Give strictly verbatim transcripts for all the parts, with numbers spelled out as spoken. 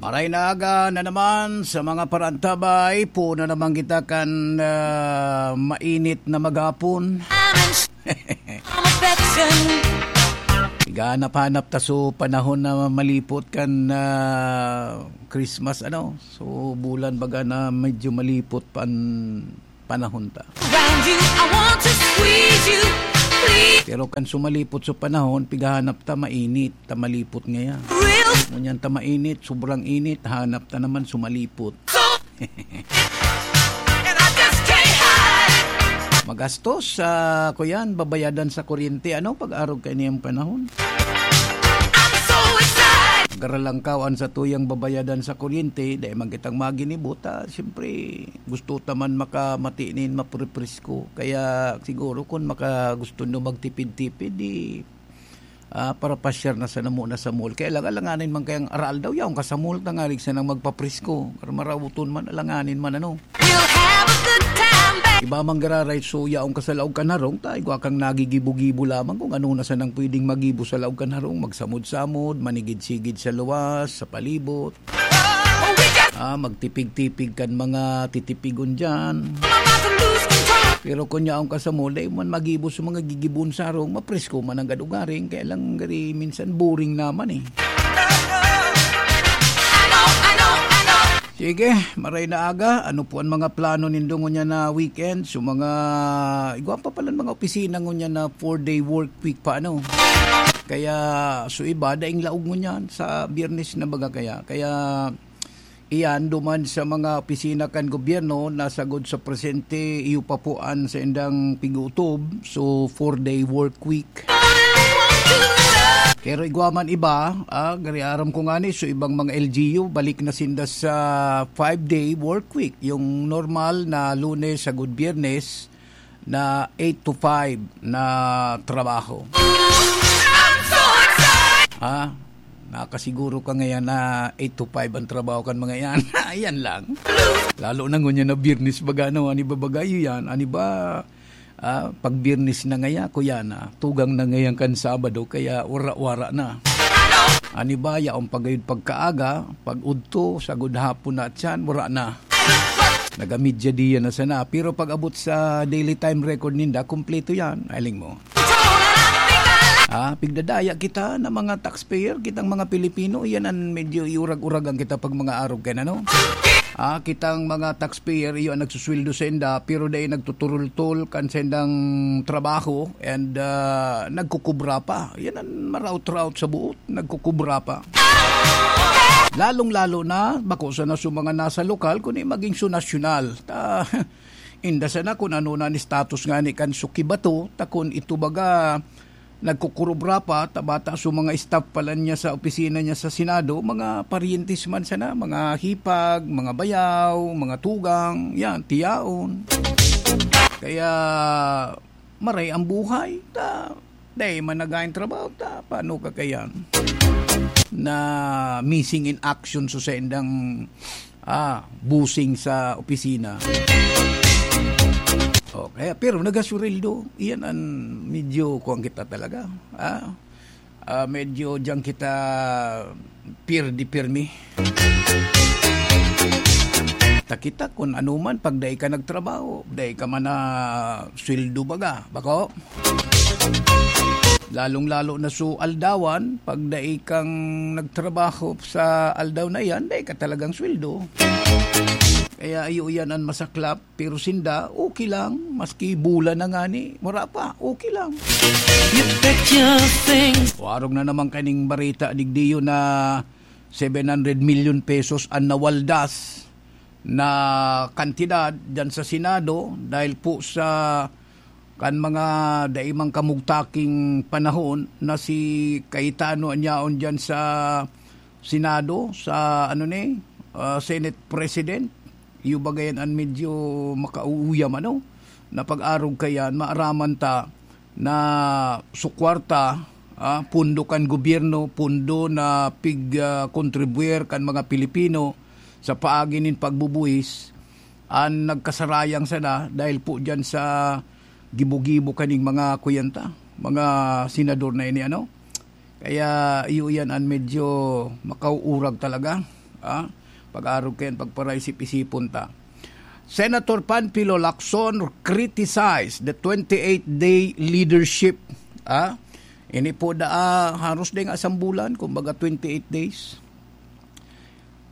Maray na aga na naman sa mga parantabay. Puno naman kita kan, ah, mainit na maghapon. I'm in sh-, I'm affection. Higanap-hanap ta so panahon na malipot kan, ah, Christmas, ano? So, bulan baga na medyo malipot pan panahon ta. Around you, I want to squeeze you, please. Pero kan sumalipot sa panahon, pighahanap ta mainit, ta malipot ngaya. Real. Ngunyan ta mainit, sobrang init, hanap ta naman sumalipot. So, and I just can't hide. Magastos, ah, kuyan, babayadan sa kuryente. Ano, pag-arog kaini ang panahon? I'm so excited. Garalangkaw an satuyang babayadan sa kuryente, dai man kitang maginibo ta, siyempre, gusto ta man makamati nin maprepresko. Kaya siguro kun maka-, gusto nyo magtipid-tipid, di, ah, para pasyar na sana muna sa mall. Kaya lang, alanganin man kayang aral daw, yaon ka sa mall, tangarig sanang magpapresko. Pero marawuton man, alanganin man, ano. We'll have a good time, babe. Iba man gararay, so yaon ka sa laog kan harong, ta igwa kang nagigibo-gibo lamang kung ano na sanang pwedeng magibo sa laog kan harong, magsamod-samod, manigid-sigid sa luwas, sa palibot. Ah, magtipig-tipig kan mga titipigon diyan. Pero kun yaon ka sa mall, dai man magibo sa mga gigibon sa harong, mapresko man ang gadugaring, kaya lang gari minsan boring naman eh. Sige, maray na aga. Ano po ang mga plano nindo ngunyan na weekend? So, mga, igwa pa pala mga opisina ngunyan na four-day work week pa, ano? Kaya, so iba, daing laog ngunyan sa Biyernes na baga kaya. Kaya, iyan, duman sa mga opisina kan gobyerno, nasagod sa presente, iyo pa po an saindang pig-utob. So, four-day work week. Pero igwa man iba, ah, gari aram ko ngani, so ibang mga L G U, balik na sinda sa five-day work week. Yung normal na Lunes sagod Biyernes na eight to five na trabaho. Ah, nakasiguro ka ngayon na eight to five ang trabaho kan mga yan. Ayan lang. Lalo na ngunyan na Biyernes baga, no? Ani ba baga yan? Ani ba, ah, pag Biyernes na ngaya, kuya na, tugang na ngayon kan Sabado, kaya wara-wara na. Ani ba, yaon pa gayud pagkaaga, pag udto, sagod hapon na at yan, wara na. Nagamidya diyan na sana. Pero pag abot sa daily time record ninda, kumpleto yan. Aling mo. Ah, pigdadaya kita na mga taxpayer, kitang mga Pilipino, iyan ang medyo iurag-uragan kita pag mga arog kaya, ano? Ah, kitang mga taxpayer, iyo ang nagsusweldo sa inda, pero dai nagtuturultol kan sa indang trabaho and, ah, nagkukubra pa. Yan ang maraot-raot sa buot, nagkukubra pa. Lalong-lalo na, bako sana sa mga nasa lokal, kundi maging sa nasyonal. Ta, inda sana kung ano na ang status nga ni kan suki bato, ta kung ito baga, nagkukurubra pa, ta bata sa mga staff pala niya sa opisina niya sa Senado, mga paryentes man sana, mga hipag, mga bayaw, mga tugang, yan, tiyaon. Kaya, maray ang buhay, ta, dai man nagain trabaho, ta, paano ka kaya na missing in action sa saindang, ah, busing sa opisina? O, kaya, pero nagasurildo, iyan ang medyo kuwan kita talaga, ah. Ah, medyo diyan kita pirdi pirmi. Ta kita kun ano man, pag dai ka nagtrabaho, dai ka man na sweldo baga, bako? Lalong-lalo na su aldawan, pag dai kang nagtrabaho sa aldaw na yan, dai ka talagang sweldo. Kaya iyo yan ang masaklap, pero sinda, okay lang, maski bulan na ngani, wala pa, okay lang. You bet your things. Warog na naman kaning barita, digdiyo na seven hundred million pesos ang nawaldas na kantidad dyan sa Senado dahil po sa kan mga daimang kamugtaking panahon na si Cayetano an yaon dyan sa Senado, sa ano ni, ah, Senate President. Iyo ba gayan an medyo makauuyam, ano? Na pag-arog kayan, maaraman ta na su kwarta, ah, pundo kan gobyerno, pundo na pig, ah, kontribuyer kan mga Pilipino sa paagi nin pagbubuhis, an nagkasarayang sana dahil po diyan sa gibo-gibo kaning mga kuyanta, mga senador na ini, ano? Kaya iyo yan an medyo makauurag talaga. Ah, pag-arog kayan, pagparaisip-isipon ta. Senator Panfilo Lacson criticized the twenty-eight day leadership. Ah, ini po da, ah, haros din nga sambulan, kumbaga twenty-eight days.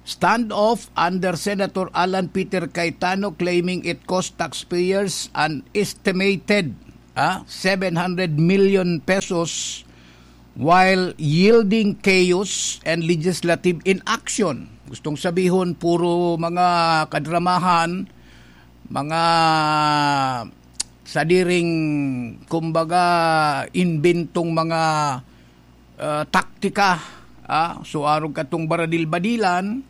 Standoff under Senator Alan Peter Cayetano claiming it cost taxpayers an estimated, ah, seven hundred million pesos while yielding chaos and legislative inaction. Gustong sabihon, puro mga kadramahan, mga sadiring, kumbaga, imbentong mga, ah, taktika, ah, so arog katong baradil-badilan,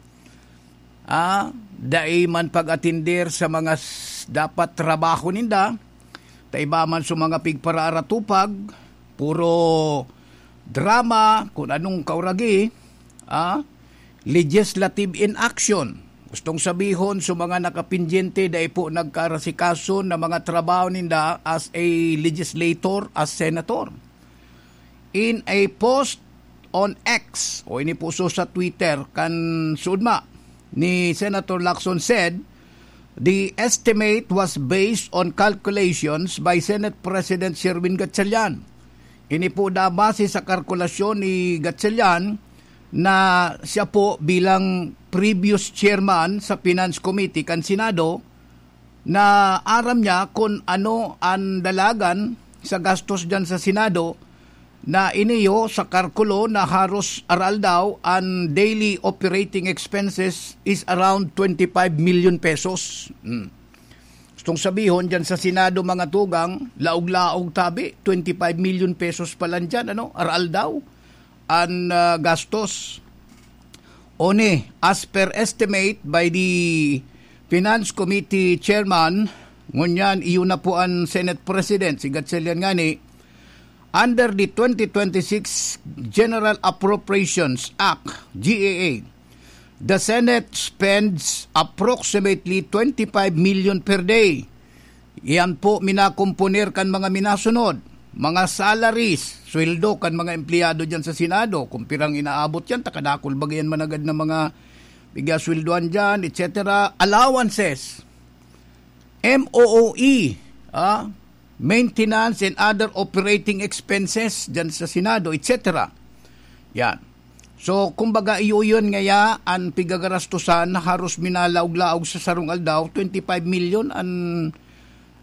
ah, dai man pag-atender sa mga s-, dapat trabaho ninda, ta iba man sa mga pigparaaratupag, puro drama, kun anong kauragi, ah, legislative inaction. Gustong sabihon, sa mga nakapendyente, dai po nagkarasikaso na mga trabaho ninda as a legislator, as senator. In a post on X, o ini po so sa Twitter, kan suudma ni Senator Lacson said, the estimate was based on calculations by Senate President Sherwin Gatchalian. Ini po da base sa kalkulasyon ni Gatchalian na siya po bilang previous chairman sa Finance Committee kan Senado, na aram niya kun ano an dalagan sa gastos diyan sa Senado, na iniyo sa kalkulo na haros aroaldaw an daily operating expenses is around twenty-five million pesos. Hmm. Gustong sabihon diyan sa Senado, mga tugang, laog-laog tabi, twenty-five million pesos pa lang diyan, ano, aroaldaw an, ah, gastos. Oni, as per estimate by the Finance Committee Chairman, ngunyan iyo na po an Senate President, si Gatchalian ngani, under the twenty twenty-six General Appropriations Act, G A A, the Senate spends approximately twenty-five million per day. Iyan po minakomponer kan mga minasunod, mga salaries, sweldo kan mga empleyado diyan sa Senado, kung pirang inaabot yan, ta kadakul baga yan managad na mga pigasweldoan diyan, et cetera, allowances, M O O E, ah, maintenance and other operating expenses diyan sa Senado, et cetera. Yan. So, kumbaga, iyo yun ngaya an pigagarastusan na haros minalaog-laog sa sarong aldaw, twenty-five million an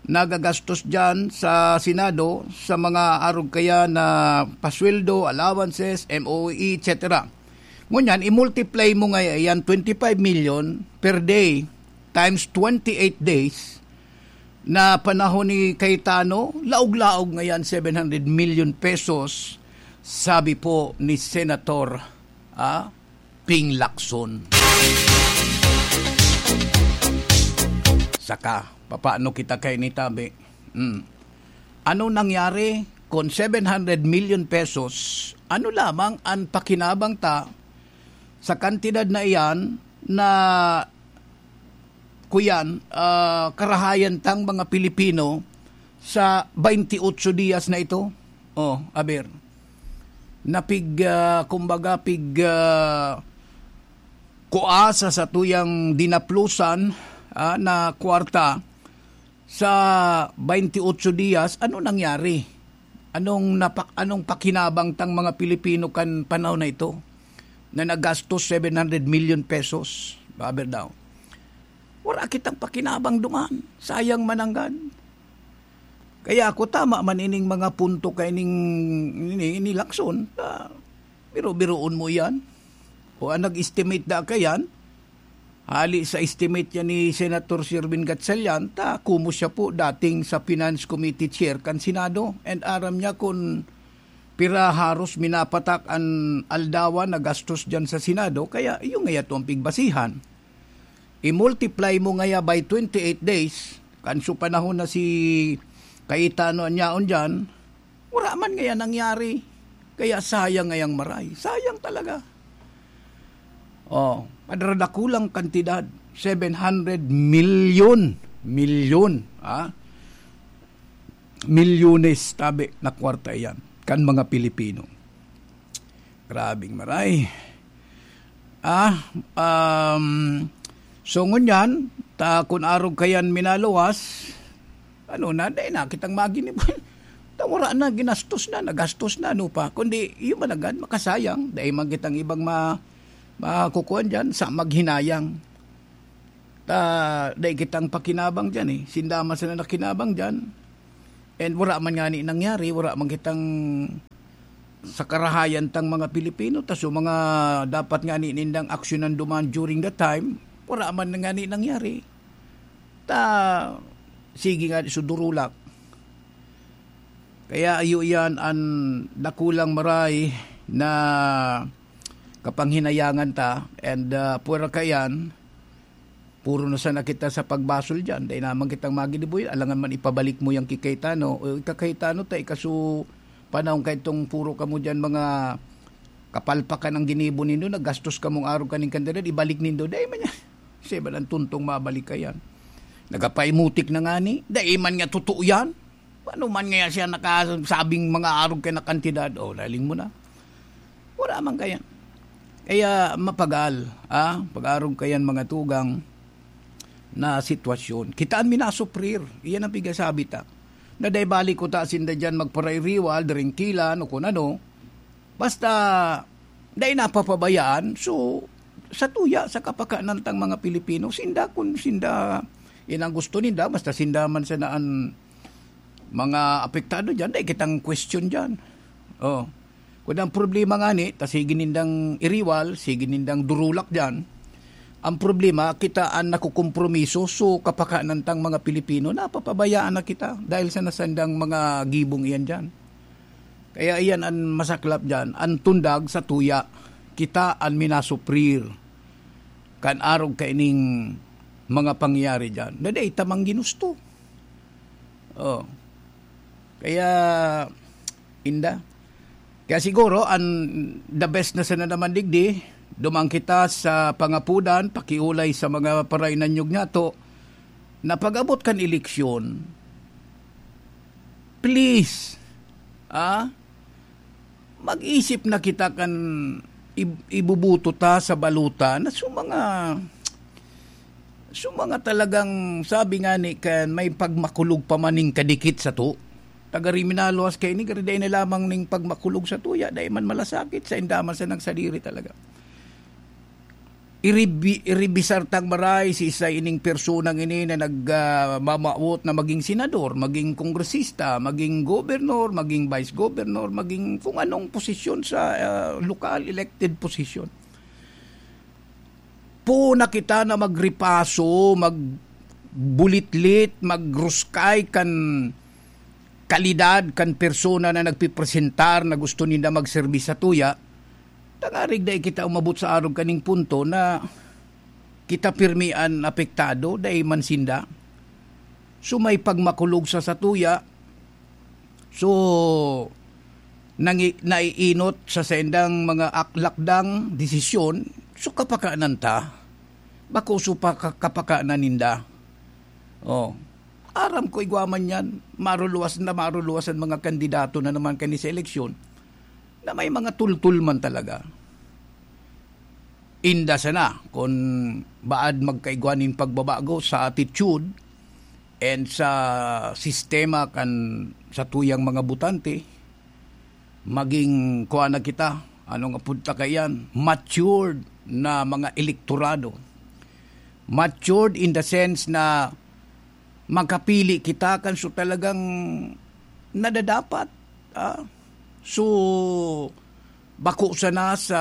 nagagastos diyan sa Senado sa mga arog kaya na pasweldo, allowances, M O E, et cetera. Ngunyan, i-multiply mo ngaya yan, twenty-five million per day times twenty-eight days na panahon ni Cayetano, laog-laog ngayan seven hundred million pesos, sabi po ni Senator, ah, Ping Lacson. Saka, papaano kita kay ni tabi? Hmm. Ano nangyari kun seven hundred million pesos? Ano lamang an pakinabang ta sa kantidad na iyan na, kuyan, ah, karahayan tang mga Pilipino sa twenty-eight dias na ito? Oh, aber. Napig, ah, kumbaga, pig, ah, kuasa sa tuyang dinaplusan, ah, na kwarta sa twenty-eight dias. Ano nangyari? Anong napak-, anong pakinabang tang mga Pilipino kan panahon na ito na nagastos seven hundred million pesos? Aber daw. Wala kitang pakinabang duman. Sayang mananggad. Kaya ako, tama man ining mga punto kay ning, ini, ini Lacson, ta, biro-biroon mo yan. O ang nag-estimate da kayan, hali sa estimate yan ni Senator Sherwin Gatchalian, ta kumo siya po dating sa Finance Committee Chair kan Senado, and aram niya kun pira haros minapatak an aldawan na gastos dyan sa Senado, kaya iyo nga yato ang pigbasihan. I-multiply mo ngaya by twenty-eight days, kanso panahon na si Cayetano an yaon dyan, wala man ngaya nangyari. Kaya sayang ngayang maray. Sayang talaga. Oh, madradakulang kantidad, seven hundred million. Milyon, ha? Milyones, tabi na kwarta yan kan mga Pilipino. Grabing maray. Ah, um, so ngunyan, ta kun arog kayan minaluwas, ano na, dai na kitang maginibo. Ta wara na, ginastos na, nagastos na, ano pa. Kundi, yun man agad, makasayang. Dai man kitang ibang ma-, makukuan dyan, sa maghinayang. Ta, dai kitang pakinabang dyan eh. Sinda man sana nakinabang dyan. And wara man ngani nangyari, wara man kitang sa karahayan tang mga Pilipino, ta so mga dapat ngani nindang aksyonan duman during that time, wara man ngani nangyari. Ta, sige nga, so durulak. Kaya iyo yan an dakulang maray na kapanghinayangan ta, and, ah, pwera kaiyan, puro na sana kita sa pagbasol diyan. Dai naman kitang maginibo yan. Alangan man ipabalik mo yang ki Cayetano. O, ika Cayetano ta, ika so panahon kaitong puro kamo diyan mga kapalpakan ang ginibo nindo, nagastos kamong arog kaning kandida, ibalik nindo. Dai man yan. Siya ba lang tuntong mabalik kayan? Nagapaimutik na ngani. Dai man nga totoo yan. Paano man ngaya siya nakasabing mga arog kaya na kantidad? O, laling mo na. Wala man kaya. Kaya mapagal, ah, pag-arog kayan mga tugang na sitwasyon. Kitaan mi nasuprir. Iyan ang pigasabi ta. Na dai balik ko ta sinda dyan magparairiwal, dringkilan, o kun ano. Basta, dai napapabayaan. So, sa tuya, sa kapakanan tang mga Pilipino, sinda kun sinda, yan ang gusto ninda, basta sinda man sana an mga apektado dyan, dai kitang question dyan. Oh. Kun ang problema ngani, ta sige nindang iriwal, sige nindang durulak dyan. Ang problema, kita an nakukompromiso, so kapakanan tang mga Pilipino, napapabayaan na kita dahil sa nasandang mga gibong iyan dyan. Kaya iyan an masaklap dyan, an tundag sa tuya, kita an minasuprir kan arog kaining mga pangyayari dyan. Na dai ta man ginusto. Oh. Kaya, inda. Kaya siguro, an the best na sana naman digdi, duman kita sa pangapudan, pakiulay sa mga parainanyog nato, na pag-abot kan eleksyon, please, ah, mag-isip na kita kan ib-, ibubuto ta sa balota na so mga, so mga talagang, sabi nga ni, kan may pagmakulog pa man ning kadikit sato. Taga Riminaluas kaini, gari dai na lamang ning pagmakulog sa tuya, dai man malasakit, sa indaman sa nagsadiri talaga. Iribi-, iribisar tang maray si isa ining personang ini na nag, ah, mamawot na maging senador, maging kongresista, maging gobernor, maging vice governor, maging kung anong posisyon sa, ah, lokal elected position. Puna kita na magripaso, magbulitlit, magruskay kan kalidad kan persona na nagpipresentar na gusto ninda magserbis sa tuya, tangarig dai kita umabot sa arog kaning punto na kita pirmi an apektado, dai man sinda. So, may pagmakulog sa satuya, so, nangi-, naiinot sa saindang mga ak-, lakdang, desisyon, so, kapakanan ta. Bako so pa-, ka-, kapakanan ninda. Oh. Aram ko igwa man yan, maruluwas na maruluwas an mga kandidato na naman kani sa eleksyon na may mga tultul man talaga. Inda sana kun baad magkaigwa nin pagbabago sa attitude and sa sistema kan satuyang mga botante, maging kuha na kita, ano nga punta kaiyan, matured na mga elektorado. Matured in the sense na makapili kita kan so talagang nadadapat, ah. So, bako sana sa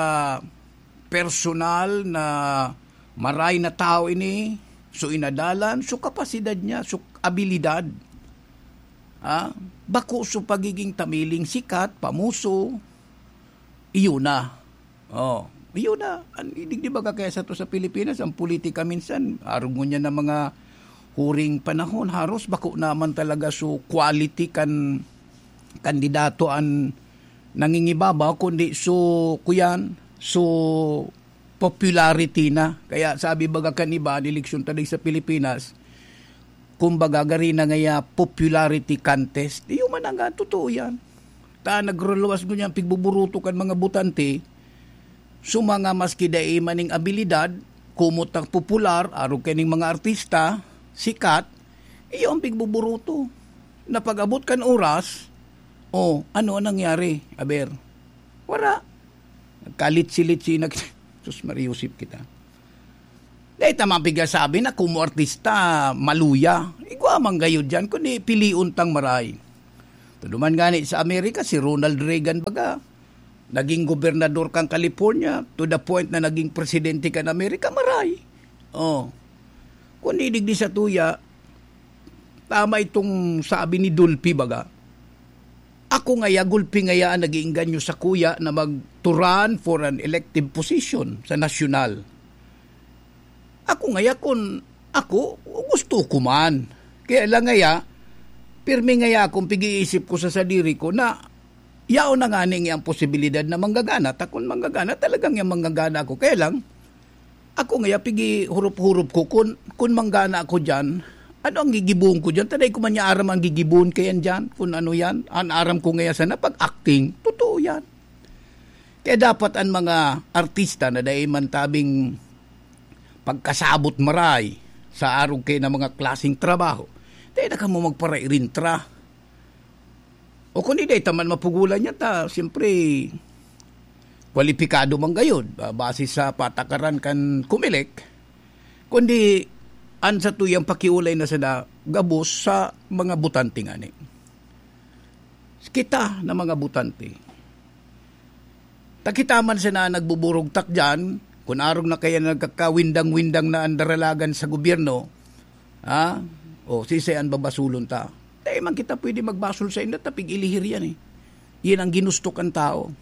personal na maray na tao ini, so inadalan, so kapasidad niya, so abilidad. Ah, bako so pagiging tamiling sikat, pamuso, iyo na. Oh, iyo na. An, di, di ba ka kaya sato sa Pilipinas, ang politika minsan, arog ngunyan na mga huring panahon, haros bako naman talaga so quality kan kandidato an nangingibabaw, kundi so, kuyan, so popularity na. Kaya sabi baga kan iba, an eleksyon ta digdi sa Pilipinas, kumbaga, gari na ngaya popularity contest. Iyo man nga, totoo yan. Ta nagruluwas ngunyan pigbuburuto kan mga botante, So, mga maski dai maning abilidad, kumot ang popular, arog kaining mga artista, sikat, iyo ang pigbuburuto. Na pag-abot kan oras, oh, ano ang nangyari? Aber, wala. Nagkalitsi-litsi, nag-, sus, mariusip kita. Dahil tama pigasabi na kumo artista, maluya. Igwa man gayod dyan, kundi pilion tang maray. Tuduman gani sa Amerika, si Ronald Reagan baga, naging gobernador kan California, to the point na naging presidente kan Amerika, maray. Oh. Kundi digdi sa tuya, tama itong sabi ni Dolphy baga. Ako ngaya, gulpi ngaya ang nag-iingganyo sa kuya na mag-, to run for an elective position sa nasyonal. Ako ngaya, kun ako, gusto ko man. Kaya lang ngaya, pirmi ngaya akong pig-iisip ko sa sadiri ko na yaon na nga ning ang posibilidad na manggagana. Ta kun manggagana, talagang yang manggagana ako. Kaya lang, ako ngaya, pigi-hurop-hurop ko kun, kun manggana ako dyan, ano ang gigibuon ko dyan? Taday ko man niya aram ang gigibuon kayan dyan, kun ano yan. Ang aram ko ngaya sana, pag-acting, totoo yan. Kaya dapat ang mga artista na dai man tabing pagkasabot maray sa arog kay na mga klaseng trabaho, dai na kamo magparairintra. O kung di, dai ta man mapugulan yan, ta, siyempre, kwalipikado man gayod, ah, base sa patakaran kan Comelec, kundi an satuyang pakiulay na sana gabos sa mga botante ngani. Kita na mga botante. Ta kita man sana nagbuburugtak diyan, kun arog na kaya nagkakawindang-windang na an daralagan sa gobyerno, ha? O, sisay an babasulon ta? Dai man kita pwede magbasol sa inda, ta pig-ilihir yan eh. Yan ang ginusto kan tao.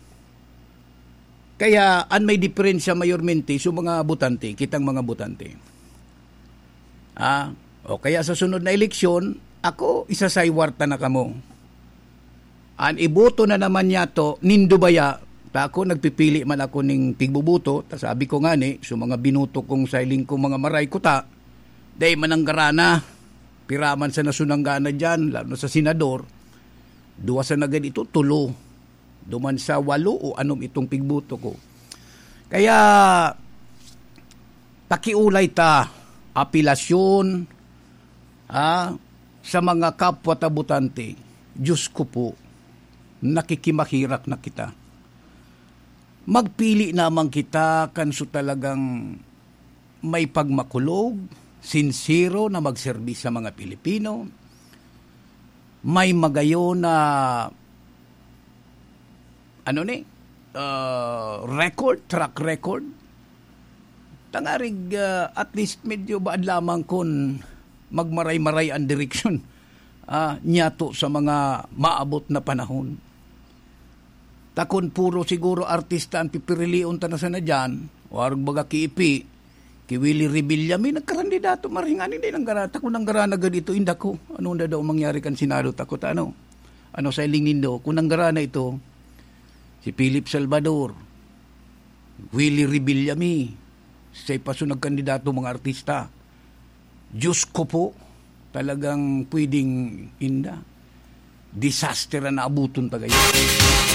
Kaya an may diferensya mayormente sa mga botante, kitang mga botante. Ah, o kaya sa sunod na eleksyon, ako, isasaywar ta na kamo. An iboto na naman niyato, nindo baya, ta ako, nagpipili man ako ning pigboboto, ta sabi ko ngani, sa mga binoto kong sailing kong mga maray kuta, dai mananggara na. Pira man sa nasunanggana diyan, lalo na sa senador, duwa sa nagad ito, tulo. Duman sa walo o anom itong pigboto ko. Kaya, pakiulay ta, apelasyon, ha, sa mga kapwa ta botante. Diyos ko po, nakikimahirak na kita. Magpili naman kita kan so talagang may pagmakulog, sinsero na magserbi sa mga Pilipino, may magayon na, ano ni, ah, record, track record. Tangarig, ah, at least medyo baad lamang kun magmaray-maray ang direksyon, ah, niyato sa mga maabot na panahon. Ta kun puro siguro artista ang pipirilion ta na sana diyan, o arog baga ki Ipi, ki Willie Revillame, nagkarandidato, maray ngani, di nanggara-, ta kun nanggara na gad ito, inda ko. Ano na daw mangyari kan Senado, ta ko ta ano? Ano sa iling nindo? Kun nanggara na ito, si Philip Salvador, Willie Revillame, sa ipaso nagkandidato mga artista. Diyos ko po, talagang pwedeng inda. Disaster ang naabuton ta gayon.